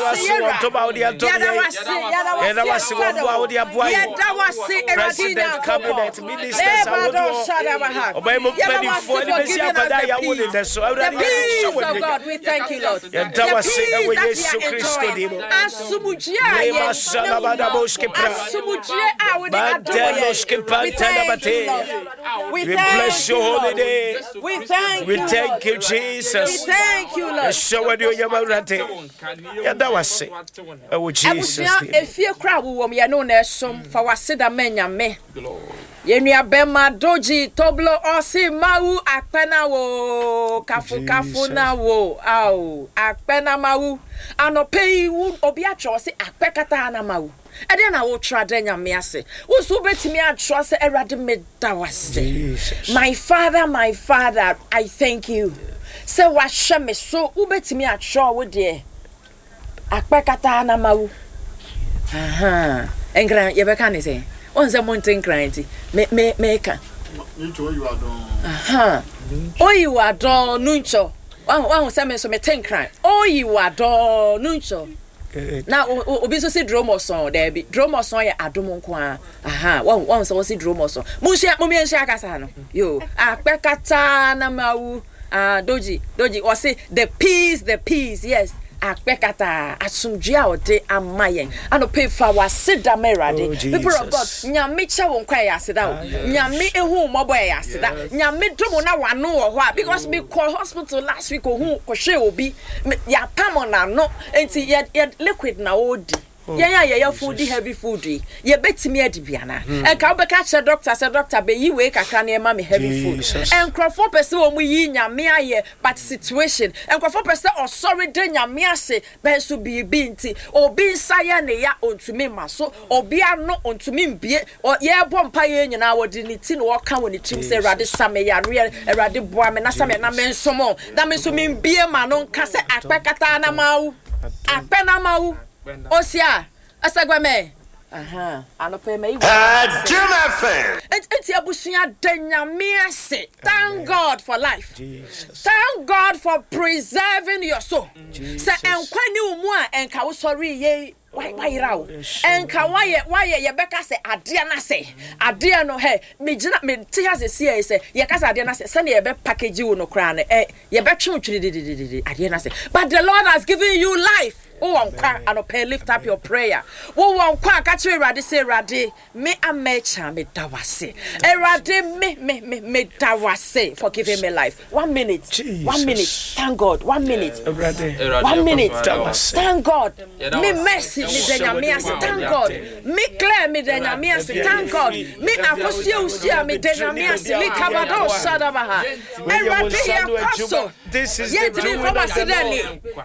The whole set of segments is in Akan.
Yɛda wɔ ntoma a wode adom Yɛda yɛn. wase, yɛda wase, Yɛda wase wɔ mmoa a wode aboa yɛn. Yɛda wase, Awurade President, Nyankopɔn. cabinet, ministers Lebado ahodoɔ, Shadabaha. ɔman mu Yɛda wase mpanimfoɔ for ne bɛsi giving us akwadaa the a yɛawo ne peace. nnɛ so. The Awurade, yɛhyɛ peace wo of anuonyam. God, we thank you, Lord. Yɛda The wase peace ɛwɔ that we Yesu are Kristo enjoying. din mu. Asomdwoe a Lema yɛn salabadaboski pra. Asomdwoe a wode adom Manteloski yɛn. We thank you, pantelabate. Lord. We We bless thank your you, holy Lord. name. We thank We you, thank Lord. you, We Jesus. thank you, Lord. Yɛhyɛ wo anuonyam, Awurade. Yɛda wo ase ɛwɔ Jesus Abusua din mu. efie kora a wowɔ mu yɛne wo na ɛsom fa w'aseda ma Nyame. Yɛn nua bɛma Doji Toblo ɔse mawu akpɛ na wo kafo kafo na wo ao akpɛ na mawu anɔpɛ yi wo obi atwerɛ ɔse akpɛ kataa na mawu ɛdeɛ na wotwerɛ adɛ Nyame ase wo nso wobɛtumi atwerɛ sɛ Awurade meda w'ase. Jesus. My father, my father, I thank you. Sɛ wahyɛ me so, wobɛtumi atwerɛ wo deɛ akpɛ kataa na mawu. Aha. Nkran yɛbɛka ne sɛ wɔn sɛ monte nkran nti me me meka. Aha. Oyi wa dɔɔ nunkyɔ. Wahu wahu sɛ me nso mete nkran. Oyi wa dɔɔ nunkyɔ. Good. Na obi nso si dromɔsɔn daabi. Dromɔsɔn yɛ adom nko ara. Aha, wahu wahu sɛ wɔsi dromɔsɔn. Monhyia mommyɛnhyia kasa no. Yo, akpɛ kataa na mawu. Ah, Doji, Doji, wɔse the peace, the peace, yes. Akpɛ kataa, asomdwoe a ɔde ama yɛn. Anɔpa yi fa w'aseda ma Awurade. Oh, People of God, Jesus. Nyame kyɛ wo nkwa ɛyɛ aseda o. Nyame ehu wo mmɔbɔ ɛyɛ aseda. Nyame dom wo na w'ano wɔ hɔ a, because me kɔ hospital last week ohun kɔhwɛ obi, me yɛapam n'ano, nti yɛ yɛ liquid na ɔredi. Yɛn a yɛyɛ food di heavy food yi, yɛbɛtumi adi bi anaa? Nka wobɛka akyerɛ doctor sɛ doctor bɛyi wei kakra na ɛma me heavy food. Jesus. Nkurɔfoɔ pɛ sɛ wɔn yi Nyame ayɛ but situation. Nkurɔfoɔ pɛ sɛ ɔsɔre da Nyame ase bɛnso biribi nti. Obi nsa yɛ ne ya ɔntumi mma so. Obi ano ɔntumi mbie. Yɛrebɔ mpaeɛ nyinaa wɔde ne ti na ɔka wɔ ne tirim sɛ Awurade sa me yareɛ, Awurade boa me na sa me na mensom wo. Na me nso membie m'ano nka sɛ akpɛ kataa na mawu. Akpɛ na mawu. Osia, Asagbame. Aha, anɔpa yi mayi wɔ. Jim FM. Nti abusua da Nyame ase. Thank God for life. Jesus. Thank God for preserving your soul. Sɛ Jesus. nkwa ni wo mu a ɛnka wo sɔre yei wayera wo. Ɛnka wayɛ wayɛ yɛbɛka sɛ adeɛ no asɛ. Adeɛ no hɛ megyina mete ha sɛ sie sɛ yɛka sɛ adeɛ no asɛ sɛnea yɛbɛ package wo no koraa no ɛ yɛbɛtwe wo twirididididi adeɛ no asɛ. But the Lord has given you life. Wowɔ nkwa anɔpa yi, lift up your prayer. Wowɔ nkwa a ka kyerɛ Awurade sɛ Awurade me amɛkya meda wase. Awurade me me me meda wase for giving me life. One minute. One minute. Jesus. Thank God. One minute. Awurade. One minute. Da wase. Thank God. Me mercy me da Nyame ase. Thank God. Me Claire me da Nyame ase. Thank God. Me Akosua Usua me da Nyame ase. Likabado Shadabaha. Awurade yɛ kɔ so. This is the Yɛntumi doing mfa of the w'ase dɛ Lord.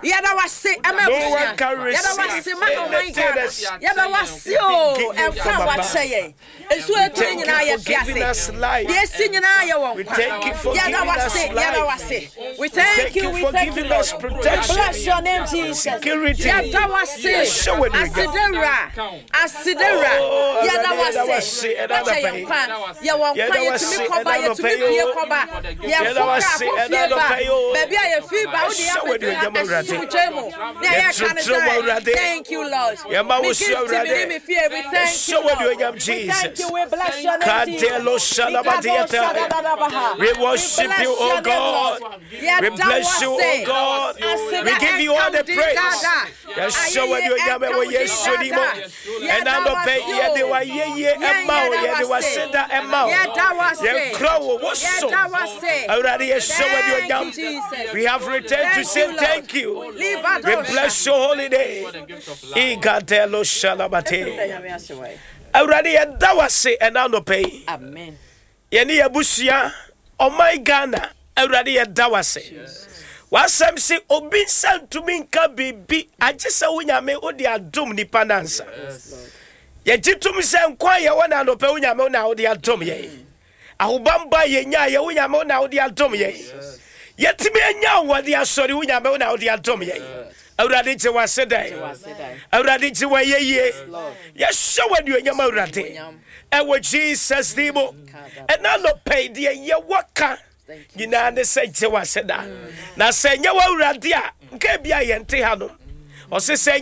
ni. Yɛda w'ase ɛma No abusua. one can Yɛda receive w'ase ma ɔman anything Ghana. that's Yɛda w'ase o given ɛnkwa from a above. wakyɛ yɛn. Nsuo We etumi thank nyinaa you yɛ for te giving ase. us life. Deɛ esi nyinaa yɛ wɔn We nkwa. thank you for Yɛda giving us w'ase. Yɛda life. w'ase. We We thank thank you. you We for thank you, giving Lord. us We protection, bless your name, Jesus. security. Yɛda w'ase. Yɛhyɛ wo anuonyam. Asedewura. Asedewura. Oh, Yɛda Awurade, yɛda w'ase. w'ase ɛna Wakyɛ anɔpa yɛn yi. nkwa. Yɛwɔ nkwa. Yɛda Yɛtumi w'ase kɔba. ɛna anɔpa Yɛtumi yi pie o. kɔba. Yɛda Yɛfo kaa w'ase kɔ ɛna fie ba. anɔpa yi o. Baabi a yɛfi ba wode Yɛhyɛ wo yɛabɛduru ha anuonyam, Awurade. asomdwoe mu. Nea yɛka ne Yɛtrɛtrɛ wo, sɛ, Awurade. thank you, Lord. Yɛma Me wo so, gift me ne Awurade. me fie. We thank you, Yɛhyɛ wo Lord. anuonyam, We thank Jesus. you. We bless your name, Jesus. Kadelo Mikado shalabadiata. shadadadabaha. We We worship bless you, O your name, God. Lord. We Yɛda bless you, O w'ase. God. We Aseda give you all ɛnka the wo din praise. dada. Yɛhyɛ wo Ayɛyie anuonyam ɛnka ɛwɔ wo din Yesu din mu. dada. Ɛna Yɛda anɔpa yi, w'ase yɛde o. w'ayɛyie Yɛn ɛma wo, yɛda yɛde w'ase. w'aseda ɛma wo. Yɛda w'ase. Yɛnkura wo, wo so. Yɛda w'ase. Awurade, yɛhyɛ wo Thank you, anuonyam. Jesus. We have returned to Thank say you, Lord. thank you. We Libadosha. bless your holy name. Igadelo shalabate. Awurade, yɛda w'ase ɛna anɔpa yi. Amen. Yɛne yɛabusua, ɔman Ghana, Awurade yɛda w'ase. W'asɛm se obi nsa ntumi nka biribi agye sɛ wo Nyame wode adom nipa no ansa. Yɛgye tom sɛ nkwa a yɛwɔ no anɔpa wo Nyame wo na wode adom yɛn. Ahobambɔ a yɛnya yɛ wo Nyame wo na wode adom yɛn. Yɛtumi anya ahoɔden asɔre wo Nyame wo na wode adom yɛn. Awurade gye w'ase dɛn. Awurade gye w'ayɛyie. Yɛhyɛ wo anuonyam Awurade. Ɛwɔ Jesus din mu. Ɛna anɔpa yi deɛ yɛwɔ ka nyinaa ne sɛ gye w'ase da. Na sɛ ɛnyɛ w'Awurade a, nka ebi a yɛnte ha no. Ɔse sɛ.